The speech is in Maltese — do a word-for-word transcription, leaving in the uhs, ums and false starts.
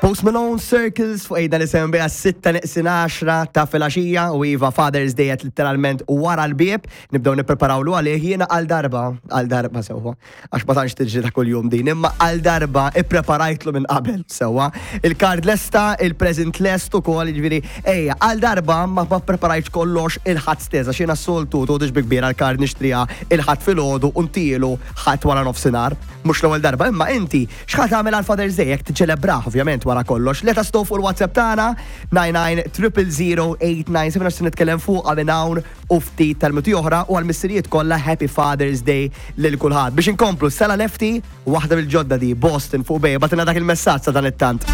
Post Malone, Circles fuq ejda l-S M B għas-sitta neqsin għaxra ta' filgħaxija u iva, Father's Day qed literalment wara l-bieb, nibdew nippreparawlu għalih. Jiena għal darba, għal darba sewwa, għax ma tantx tiġri ta' kuljum din, imma għal darba ippreparajtlu minn qabel sewwa. Il-card lesta, il-present lest ukoll, jiġifieri ejja, għal darba ma ma preparajtx kollox il-Ħadd stess, għax jiena s-soltu toqgħodx bi kbira, l-card nixtriha il-Ħadd filgħodu u ntilu Ħadd wara nofsinhar. Mhux l-ewwel darba, imma inti x'ħa tagħmel għal Father's Day jekk tiċċelebrah ovvjament wara kollox? Let us know fuq il-WhatsApp tagħna nine nine zero zero zero eight nine seven għax se nitkellem fuq minn hawn u ftit tal-minuti oħra u għal-missirijiet kollha, Happy Father's Day lil kulħadd. Biex inkomplu, Sela Lefty, waħda mill-ġodda di, Boston fuq Bay, bagħtilna dak il-messaġġ sa dan it-tant.